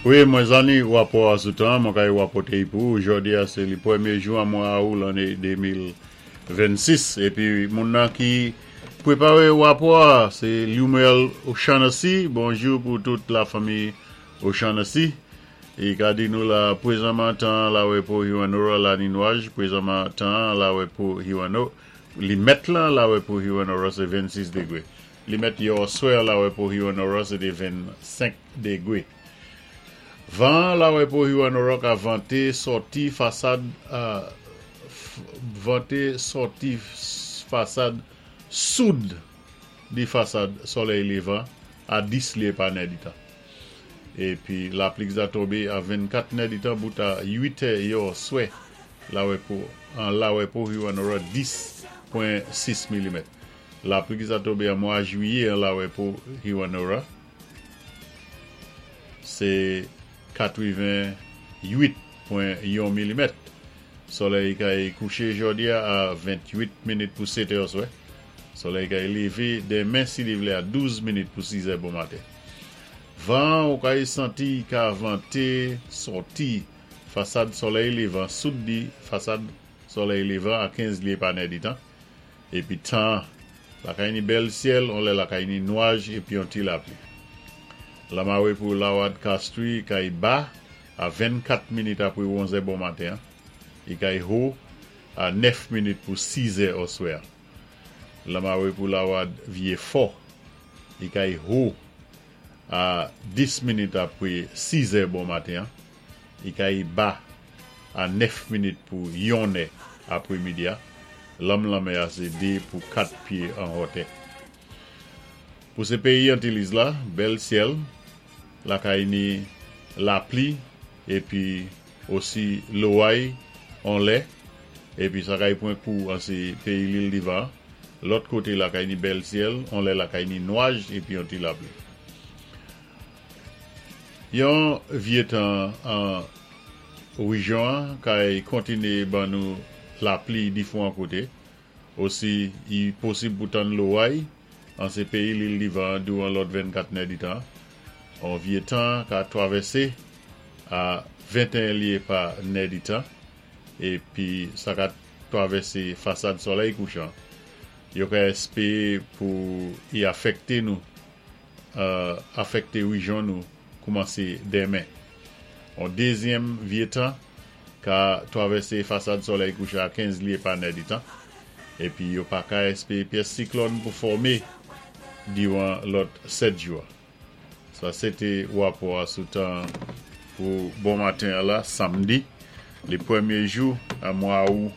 Wi, mwen zanni wapò a sou tan, mwen kay wapòté i pou ou. Jòdi a sé li pwémyé jou an mwa Aou lanné 2026. Épi moun nan ki pwéparé wapò a, sé Lumel O'Shaughnessy. Bonjou pou tout la fanmi O'Shaughnessy. I ka di nou la pwézanman tan la wè pou Hewanorra la ni nwaj, pwézanman tan la wè pou Hewanorra, li mèt lan la wè pou Hewanorra sé 26 dégwé. Li mèt yè oswè la wè pou Hewanorra sé té 25 dégwé. Van la wè pou Hewanorra ka vanté sòti fasad vanté sòti fasad soud di fasad solèy lévan a 10 lyé pa nèditan. Épi lapli ki sa tonbé a 24 nèditan bout a 8 è yè oswè la wè pou an la wè pou Hewanorra 10.6 milimèt. Lapli ki sa tonbé an mwa jwiyé an la wè pou Hewanorra sé 88.1 milimèt. Solèy kay kouché jòdi a a 28 minit pou 7 è oswè. Solèy kay lévé denmen si li vlé a 12 minit pou 6 è bon maten. Van ou kay santi ka vanté sòti fasad solèy lévan soud di fasad solèy lévan a 15 lyé pa nèditan. Épi tan lakay ni bèl syèl, on lè lakay ni nwaj épi on ti lapli. Lamawé pou Lawad Castries kay ba a 24 minit apwé 11 è bon maten, i kay ho a 9 minit pou 6 è oswè. Lamawé pou Lawad Vyé Fò, i kay ho a 10 minit apwé 6 è bon maten, i kay ba a 9 minit pou 1 è apwé midi a. Lanm lanmè a sé 2 pou 4 pyé an hòtè. Pou sé péyi Antiliz la, bèl syèl, lakay ni lapli épi osi loway on lè, épi sa kay pwan kou an sé péyi Lil Divan. Lòt koté lakay ni bèl syèl, on lè lakay ni nwaj épi on ti lapli. Yon vyé tan an rejyon an kay kontiné ban nou lapli difwan koté. Osi i posib pou tann loway an sé péyi Lil Divan douwan lòt 24 nèditan. On vyé tan ka twavèsé a 21 lyé pa nèditan épi sa ka twavèsé fasad solèy kouchan. Yo ka èspéwé pou i afèkté nou afèkté rejyon nou koumansé denmen. On dézyèm vyé tan ka twavèsé fasad solèy kouchan a 15 lyé pa nèditan épi yo pa ka èspéwé pyès siklòn pou fòmé diwan lòt 7 jou. Sa sé té wapò a sou tan pou bon maten an la, samdi, li pwémyé jou an mwa Aou.